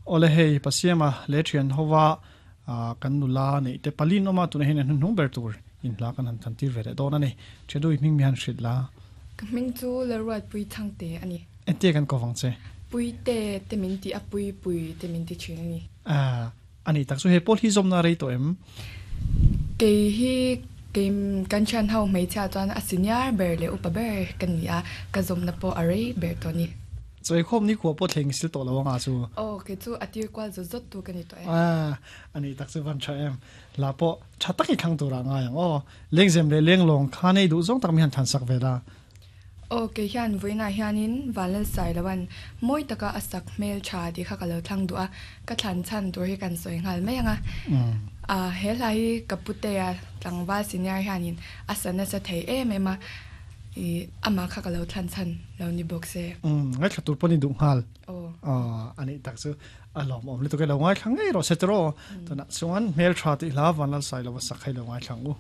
Awle hei Pasiama leh thian hova kan nula neih te palin awm a, tunah hian an hnuhnung ber tur in hla kan han than tir ve leh dawn a ni. Thian du i hming mi han hrilh la. Ka hming chu Lalruatpui Thangte a ni. Entia kan ko vang che? Puite te min ti a, Pui Pui te min ti thin a ni. A nih tak chu he pawl hi zawmna a rei tawh em? Kei hi kei kan thian ho hmeichhia chuan a senior ber leh upa ber ka ni a, ka zawmna pawh a rei ber tawh a ni. Chawikhawm ni khua pawh thleng sil tawh lo anga chu. Aw, kei chu a tir kual zawt zawt tu ka ni tawh e. A nih tak chu van tha em. La pawh tha tak i thlang turah ngai ang aw. Lengzem leh lenglawng kha nei duh zawng tak mi han thlansak ve la. Aw, kei hian vawiinah hianin Vanlalsailoan mawi taka a sak hmel tha tih kha ka lo thlang duh a, ka thlan chhan tur hi kan sawi nghal mai ang a. He hla hi ka putea tlangval senior hianin a sa nasa thei em em a, ih amah kha ka lo thlan chhan lo ni bawk se. Ngaithla tur pawh ni duh nghal. Aw, a nih tak chu a lawmawm lutuk e, lo ngaithla ngei rawh se tiraw. Tunah chuan hmel tha tih hla Vanlalsailoa sak hi lo ngaithla ang u.